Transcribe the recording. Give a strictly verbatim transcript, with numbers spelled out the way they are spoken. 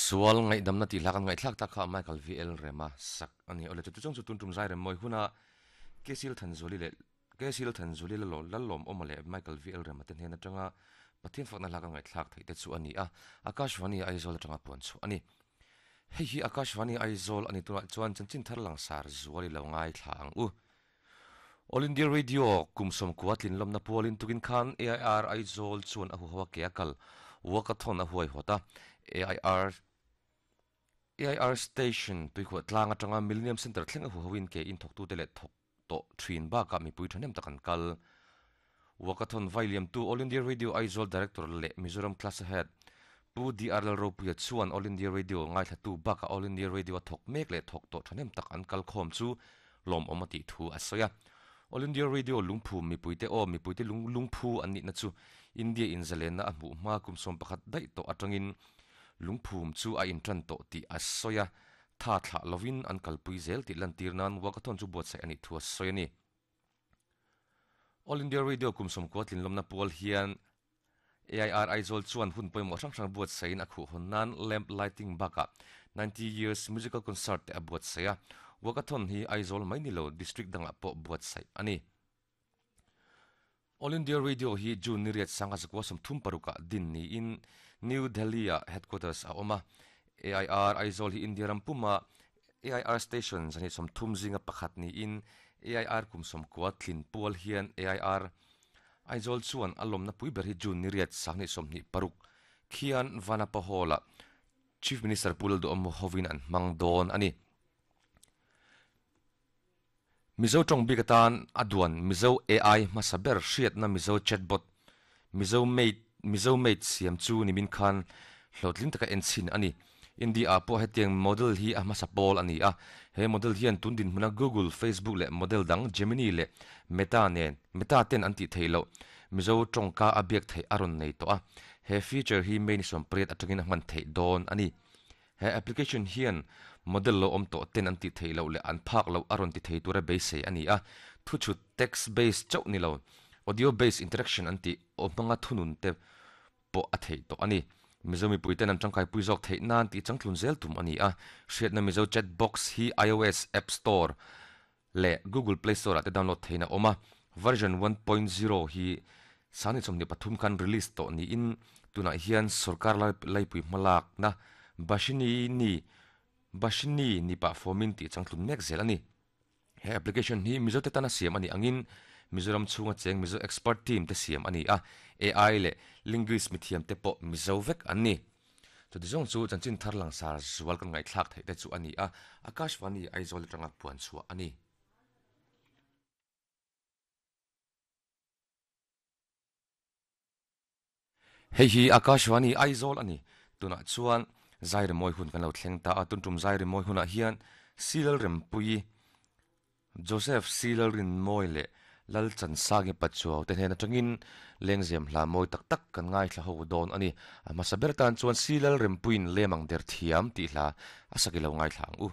Sual ngai damna ti hla kan ngai thlak tak kha Michael V L Rema sak ani ole chu chong chu tun tum zai rem moi huna Kesil Thanzuli le Kesil Thanzuli la lo lalom omale Michael V L Rema ten hen atanga Pathian fakna hla kan ngai thlak thei te chu ani a Akashvani Aizawl atanga puan chu ani hei hi Akashvani Aizawl ani tuna chuan chanchin thar lang sar zuali lo ngai thla ang u All India Radio kumsom kuatlin lomna pualin tukin khan A I R Aizawl chuan a hu hawa ke akal walkathon a huai hota A I R A I R station tuikhuah tlang atanga Millennium Center thleng a hu hawin ke in thok tu te le thok to thin ba ka mi pui thanem takan kal walkathon vailiam tu All India Radio Aizawl Director le Mizoram Class Head Pu D R L Ropuia chuan All India Radio ngai thla tu ba ka All India Radio thok mek le thok to thanem tak an kal khom chu lom omati thu asoya All India Radio lungphu mi puite o mi puite lung lungphu an ni na chu India in zalen na a hmu hma kum som pakhat dai to atangin lungphum chu a in tran to ti asoya tha thla lovin an kalpui zel ti lantir nan walkathon chu buat sai ani thu asoya ni All India Radio kum som ko tlin lomna pual hian A I R Aizawl chuan hun pawimawh hrang hrang buat saiin a khuh hawn nan lamp lighting baka ninety years musical concert te a buat saia walkathon hi Aizawl mai ni lo district danga pawh buat sai ani All India Radio hi June ni riat sanga zakwa som thum paruka din ni in New Delhi a headquarters a awma A I R Aizawl hi India ram puma A I R station zani som thum zinga pakhat ni in A I R kum som kwa thlin pual hian A I R Aizawl chuan a lawmna pui ber hi June ni riat sangni sawmhnih paruk khian Vanapa Hall-a Chief Minister Pu Lalduhawma hovin an hmang dawn ani Mizo tawng bik atan a duan Mizo A I hmasa ber hriatna Mizo chatbot Mizo mate Mizo mate siam chu nimin khan hlawhtling taka en chhin ani India pawh hetiang model hi a hmasa pawl ani a he model hian tun din hmuna Google Facebook leh model dang Gemini leh Meta nen Meta ten an tih theih loh Mizo tawngka a biak theih a rawn nei tawh a he feature hi May ni sawm pariat atangin a hman theih dawn ani he application hian model lo awm tawh ten an tih theih loh leh an phak loh a rawn ti thei tura beisei ani a thu chhut text based chauh ni lo audio based interaction an tih aw hmanga thunun te pawh a theih tawh ani Mizo mipui ten an tangkai pui zawk theih nan tih changtlun zel tum ani a hriatna Mizo chat box hi iOS App Store leh Google Play Store ah te download theihna awm a version one point zero hi sangni chawmhnih pathum khan release tawh niin tunah hian sarkar laipui hmalak na Bashini ni Bashini ni pah formin tih changtlun mek zel ani he application hi Mizo te tana siam ani angin Mizoram chhunga cheng Mizo expert team te siam ani a A I leh linguist mithiam te pawh Mizo vek an ni chuti zawng chu chanchin thar lang sar zual kan ngai thlak theih te chu ani a Akashvani Aizawl atanga puan chhuah ani hei hi Akashvani Aizawl ani tunah chuan zai remawi hun kan lo thleng ta a tun tum zai remawi hunah hian Silal Rempui Joseph Silal Rinmawi leh Lal Chansangi Pachuau te hnen atangin lengzem hla mawi tak tak kan ngai thla ho dawn ani a hmasa ber tan chuan Silal Rempuiin lemang der thiam tih hla a saki lo ngai thla ang u.